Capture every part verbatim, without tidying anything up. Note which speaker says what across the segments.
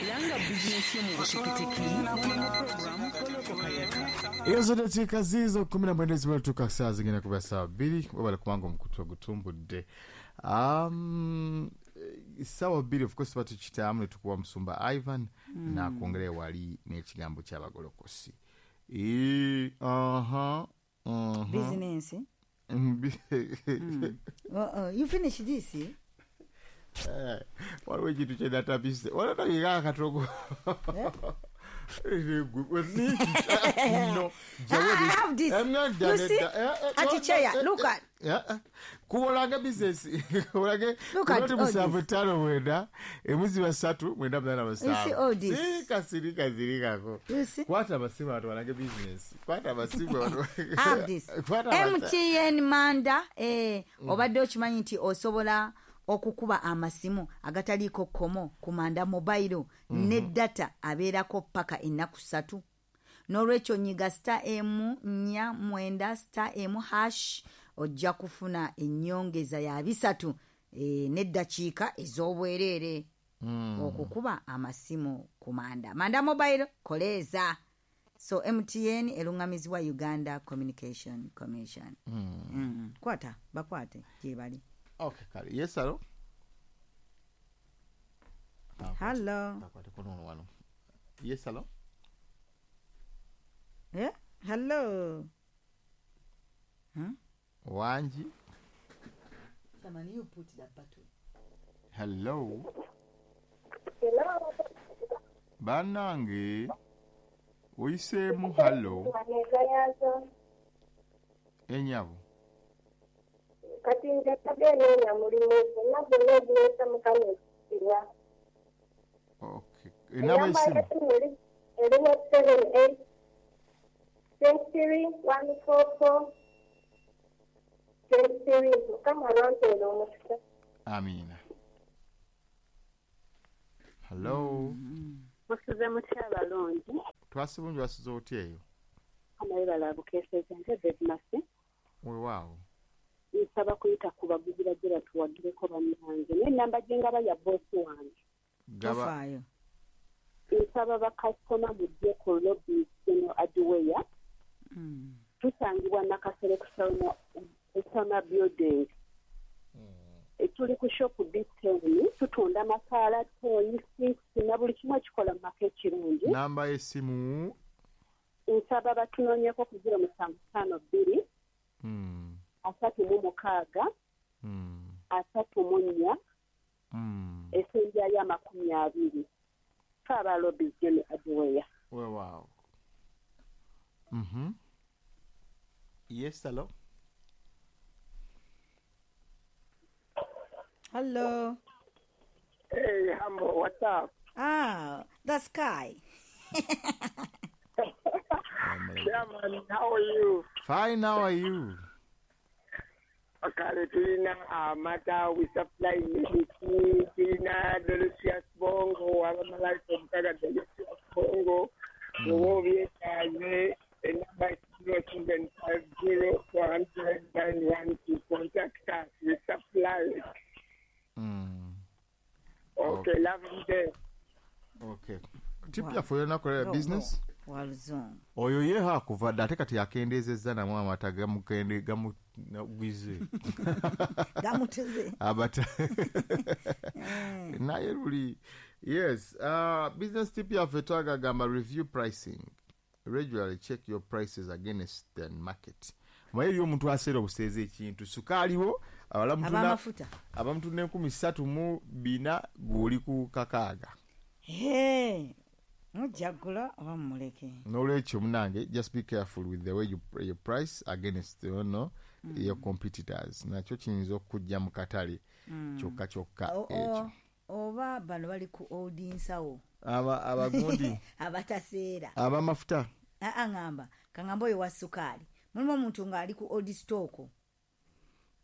Speaker 1: Langa bizinesi yo mu buteketeke mu program Goloko Kayaka.
Speaker 2: Ezo dakiika ziizo kumi na mwenda ezibatuuka ssaawa zigenda kuba ssaawa bbiri, webale kubanga omukutu ogutumbudde. Um, ssaawa bbiri of course batukitaamu ne tukuwa musumba Ivan mm. n'akwongera ewali n'ekigambo ky'abagolokosi. E, uh-huh, uh-huh.
Speaker 3: Business. mm. uh, uh, you finish this, eh?
Speaker 2: Eh, waliwo ekintu kye natapise walatabika akatogo. No,
Speaker 3: I have this. You see, at chair, look at.
Speaker 2: Kubolanga business. Kubolage.
Speaker 3: Look at all this.
Speaker 2: Musanvu mwenda, emuzi basatu mwenda mnana musanvu.
Speaker 3: You see all this.
Speaker 2: Sika sirika zirikako.
Speaker 3: You see?
Speaker 2: Kwata abasimu abantu balange business. Kwata abasimu abantu.
Speaker 3: Have this. M T N Manda, eh, obadde okimanyi nti osobola okukuba amasimu agataliiko kkomo ku Manda Mobile mm -hmm. ne data abeerako paka ennaku ssatu. N'olwekyo nyiga star emu nnya mwenda star emu hash ojja kufuna ennyongeza ya bisatu e, n'eddakiika ez'obwereere mm. okukuba amasimu ku Manda. Manda Mobile koleeza. So M T N eruŋŋamizibwa Uganda Communication Commission. Mm. Mm. Kwata bakwate gye bali.
Speaker 2: Okay, kale. Yes, hello.
Speaker 3: Hello.
Speaker 2: Yes, hello.
Speaker 3: Yeah, hello. Huh?
Speaker 2: Wanji.
Speaker 3: Someone you put that button.
Speaker 2: Hello.
Speaker 4: Hello.
Speaker 2: Banange. Oyiseemu hello. Enyabo.
Speaker 4: Kati nze nnoonya mulimu gwonna gwonna oguleeta Mukama ekitiibwa.
Speaker 2: Okay. Enamba y'essimu?
Speaker 4: Eriwo seven eight twenty three one four four twenty three. Mukama abampeere omukisa.
Speaker 2: Amiina. Hello.
Speaker 5: Musuze mutya abalungi?
Speaker 2: Twasi bulungi, wasuze otya eyo?
Speaker 5: Amayibala abukeeseza nze Bedmasi.
Speaker 2: Weewaawo.
Speaker 5: Nsaba kuyita ku baguzi bajje batuwagireko bannange naye ennamba gye ngaba ya bboosi wange.
Speaker 3: Tofaayo.
Speaker 5: Nsaba bakasitoma mujje ku Lobbies General Hardware. Tusangibwa Nakasero ku Soma Building. Tuli ku shop B ten, tutunda makaala, toyi, sinks na buli kimu ekikola mu maka ekirungi.
Speaker 2: Namba y'essimu?
Speaker 5: Nsaba batunoonyeko ku zero musanvu ttaano bbiri. Asatu mu mukaaga,
Speaker 2: mm.
Speaker 5: asatu mu nnya,
Speaker 2: mm.
Speaker 5: essembyayo amakumi abiri. Ffe aba Lobbies General Hardware.
Speaker 2: Weewaawo. Mhm. Yes, hello.
Speaker 3: Hello.
Speaker 6: Hey, Hambo, what's up?
Speaker 3: Ah, the sky.
Speaker 6: Yeah, man, how are you?
Speaker 2: Fine, how are you?
Speaker 6: Kale tulina amata, we supply milk, tulina delicious bongo, abamalaika omukaga delicious bongo, bw'oba obyetaaze, enamba zero seven five zero four hundred nine one to contact us, we supply it.
Speaker 2: Mm.
Speaker 6: Okay, okay, lovely day.
Speaker 2: Okay. Tip yaffe olunaku lwa business?
Speaker 3: Waluzungu.
Speaker 2: Oyo ye hakuva dda ate kati yakendeezezza namu amata gamukende gamugwize.
Speaker 3: Gamutuze.
Speaker 2: Abata. Naye luli. Yes, uh, business tip yaffe twagagamba review pricing. Regularly check your prices against the market. Maye eriyo omuntu aseera obuseeza ekintu sukaaliwo
Speaker 3: abamafuta
Speaker 2: abamutunda enkumi ssatu mu bina gw'oli ku kakaaga.
Speaker 3: Hey. Mujagula oba mumuleke.
Speaker 2: N'olwekyo munange, just be careful with the way you, you price against you know, mm. your competitors. Nakyo kiyinza okujja mu katale mm. kyokka kyokka ekyo.
Speaker 3: Oba bano bali ku old nsawo.
Speaker 2: Aba abagundi
Speaker 3: abataseera.
Speaker 2: Abamafuta.
Speaker 3: Aa ngamba kangamba oyo wa sukaali. Mulimu omuntu ng'ali ku old stock.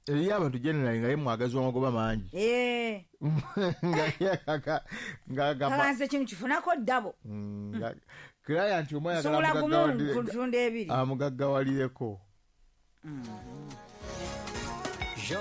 Speaker 2: Eriyo abantu generally nga ye mwagazi w'amagoba mangi.
Speaker 3: Eh.
Speaker 2: Nga ye ng'agamba.
Speaker 3: Kalanze kino kifunako ddabo.
Speaker 2: Mm, client omu ayagala
Speaker 3: mugaggawalire.
Speaker 2: Amugaggawalireko.
Speaker 3: Mm.
Speaker 7: Jo.